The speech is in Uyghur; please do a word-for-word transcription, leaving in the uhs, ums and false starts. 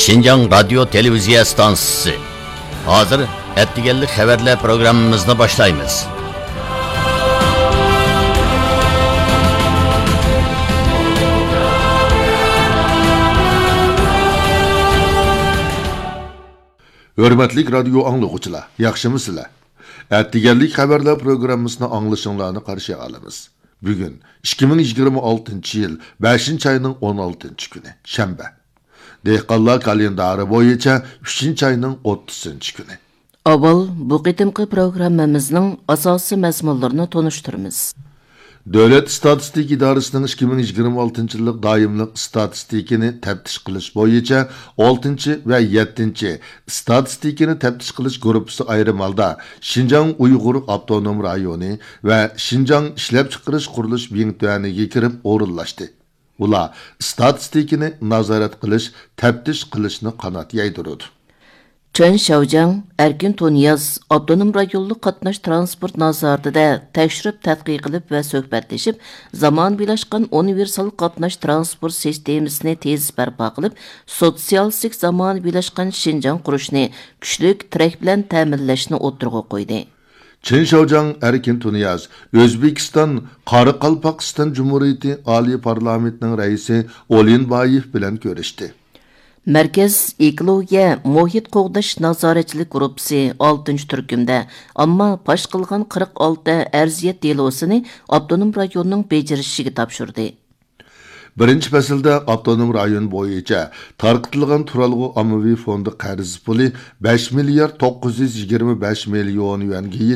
شىنجاڭ رادىيو تېلېۋىزىيە ئىستانسىسى. ھازىر ئەتىگەنلىك خەۋەرلەر پروگراممىمىزنى باشلايمىز. ھۆرمەتلىك رادىيو ئاڭلىغۇچىلار، ياخشىمۇسىلەر؟ ئەتىگەنلىك خەۋەرلەر پروگراممىسىنى ئاڭلىشىڭلارنى قارشى ئالىمىز. بۈگۈن ئىككى مىڭ يىگىرمە ئالتىنچى يىل بەشىنچى ئاينىڭ ئون ئالتىنچى كۈنى، شەنبە. دېھقانلار كالېندارى بويىچە ئۈچىنچى ئاينىڭ ئوتتۇزىنچى كۈنى. ئاۋۋال بۇ قېتىمقى پروگراممىمىزنىڭ ئاساسىي مەزمۇنلىرىنى تونۇشتۇرىمىز. دۆلەت ئىستاتىستىكا ئىدارىسىنىڭ ئىككى مىڭ يىگىرمە ئالتىنچى يىللىق دائىملىق ئىستاتىستىكىنى تەپتىش قىلىش بويىچە ئالتىنچى ۋە يەتتىنچى ئىستاتىستىكىنى تەپتىش قىلىش گۇرۇپپىسى ئايرىم ھالدا شىنجاڭ ئۇيغۇر ئاپتونوم رايونى ۋە شىنجاڭ ئىشلەپچىقىرىش قۇرۇلۇش بىڭتۈەنىگە كىرىپ ئورۇنلاشتى. ئۇلار ئىستاتىستىكىنى نازارەت قىلىش، تەپتىش قىلىشنى قانات يايدۇرىدۇ. چېن شياۋجياڭ، ئەركىن تۇنىياز ئاپتونوم رايونلۇق قاتناش ترانسپورت نازارىتىدە تەكشۈرۈپ تەتقىق قىلىپ ۋە سۆھبەتلىشىپ، زامانىۋىلاشقان ئۇنىۋېرسال قاتناش ترانسپورت سىستېمىسىنى تېز بەرپا قىلىپ، سوتسىيالىستىك زامانىۋىلاشقان شىنجاڭ قۇرۇشنى كۈچلۈك تىرەك بىلەن تەمىنلەشنى ئوتتۇرىغا قويدى. چېن شياۋجياڭ ئەركىن تۇنىياز ئۆزبېكىستان قارىقالپاقىستان جۇمھۇرىيىتى ئالىي پارلامېنتىنىڭ رەئىسى ئولىنبايېف بىلەن كۆرۈشتى. مەركەز ئېكولوگىيە مۇھىت قوغداش نازارەتچىلىك گۇرۇپپىسى ئالتىنچى تۈركۈمدە ئامما پاش قىلغان قىرىق ئالتە ئەرزىيەت دېلوسىنى ئاپتونوم رايوننىڭ بېجىرىشىگە تاپشۇردى. بىرىنچى پەسىلدە ئاپتونوم رايون بويىچە تارقىتىلغان تۇرالغۇ ئاممىۋى فوندى قەرز پۇلى بەش مىليارد توققۇز يۈز يىگىرمە بەش مىليون يۈەنگە يېتىپ،